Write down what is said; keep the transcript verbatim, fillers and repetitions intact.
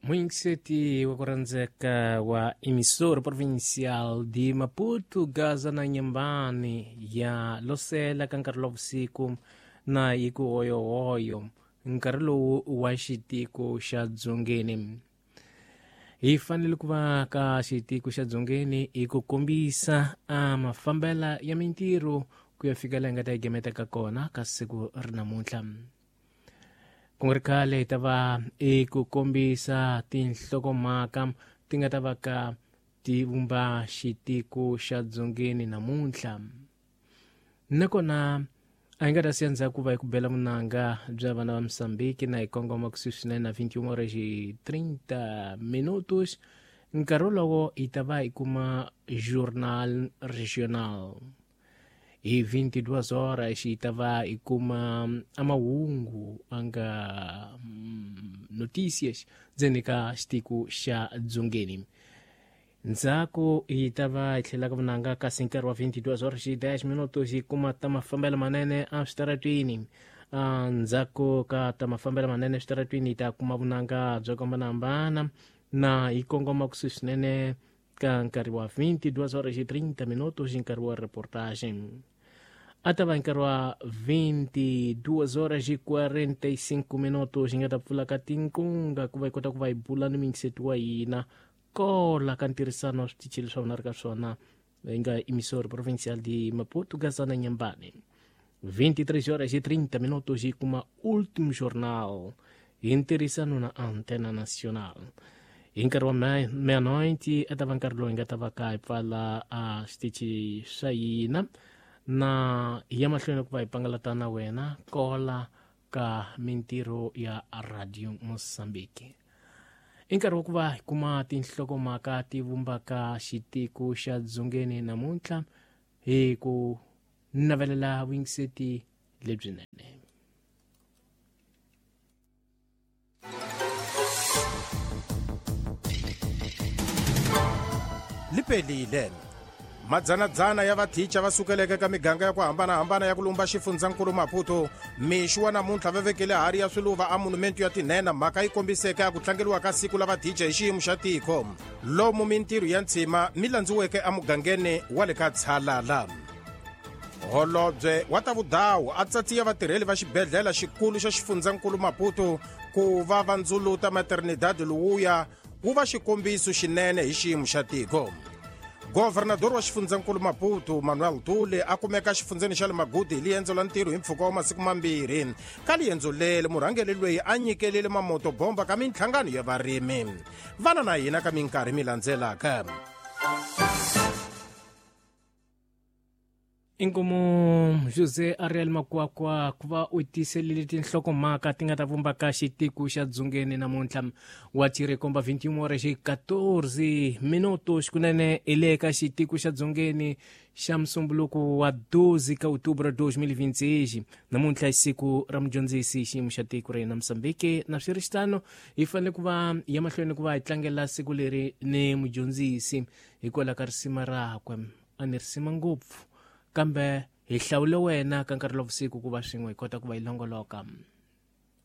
Muyingiseti wa ku rhandzeka wa emissora provincial de Maputo, Gaza na Nyambani ya losela ka nkarhi wa vusiku na yi ku hoyohoyo nkarhi lowu wa xitiko xa dzongeni. Hi fanele ku va ka xitiko xa dzongeni hi ku kombisa a mafambela ya mintirho ku ya fika laha hi nga ta yi gemeta ka kona ka siku ri namuntlha. Ku nga ri khale hi ta va eku kombisa tinhlokomhaka ti nga ta va ka ti vumba xitiko xa dzongeni namuntlha. Nakona a hi nga ta siya ndzhaku va hi ku bela vunanga bya vana va Mozambique na hi kongoma kusuhi swinene na vinte e uma horas e trinta minutos. Nkarhi wolowo hi ta va hi kuma Journal Regional. Hi vinte e duas horas hi ta va hi kuma a mahungu a nga notícias ndzeni ka xitiko xa dzongeni. Ndzhaku hi ta va hi tlhela ka vunanga kasi nkarhi wa vinte e duas horas e dez minutos hi kuma ta mafambelo manene eswitaratwini. Ndzhaku ka ta mafambelo manene eswitaratwini hi ta kuma vunanga byo hambanahambana na hi kongoma kusuhi swinene ka nkarhi wa vinte e duas horas e trinta minutos nkarhi wa reportagem. A ta va nkarhi wa vinte e duas horas e quarenta e cinco minutos hi nga ta pfula ka tinqunga ku va hi kota ku va hi bula ni muyingiseti wa hina kola ka ntirhisano wa switichi leswi vona ri ka swona hi nga emissora provincial de Maputo, Gaza na Nyambani. vinte e três horas e trinta minutos hi kuma último jornal hi ntirhisano na Antena Nacional. Hi nkarhi wa meia-noite a ta va nkarhi lowu hi nga ta va ka hi pfala a xitichi xa hina na hi ya mahlweni ku va hi pangalata na wena kola ka mintirho ya Radio Mozambique. I nkarhi wa ku va hi kuma tinhlokomhaka ti vumbaka xitiko xa dzongeni namuntlha hi ku navelela vuyingiseti lebyinene. Lipelile madzanadzana ya vathicha va sukeleke ka miganga ya ku hambanahambana ya ku lumba xifundzankulu Maputo mixo wa namuntlha va vekele hari ya swiluva a monumento ya tinhenha mhaka yi kombiseke a ku tlangeriwa ka siku la vathicha hi xiyimo xa tiko lomu mintirho ya ntshima mi landziweke emugangeni wa le ka Tshalala. Holobye wa ta vudawu a tsatsiya vatirheli va xibedhlele xikulu xa xifundzankulu Maputo ku va va ndzuluta maternidad lowuya wu va xikombiso xinene hi xiyimo xa tiko. Governador wa xifundzankulu Maputo Manuel Tule a kumeka xifundzeni xa le Magudu hi liendzo la ntirho hi mpfhuka wa masiku mambirhi. Ka liendzo leri murhangeri loyi a nyikelile mamotobomba ka minhlangano ya varimi. Vana na hina ka minkarhi mi landzelaka. Inkomo José Ariel Makwakwa ku va u tiselile tinhlokomhaka ti nga ta vumba ka xitiko xa dzongeni namuntlha wa tirikomba vinte e uma horas e quatorze minutos kunene hi le ka xitiko xa dzongeni xa musumbuluko wa doze ka outubro dois mil e vinte e seis. Namuntlha i siku ra mudyondzisi xiyimo xa tiko ra hina Mozambique na swi ri xitano hi fanele ku va ya mahlweni ku va hi tlangela siku leri ni mudyondzisi hikwalaho ka risima rakwe a ni risima ngopfu kambe hi hlawule wena ka nkarhi wa vusiku ku va swin'we hi kota ku va hi longoloka.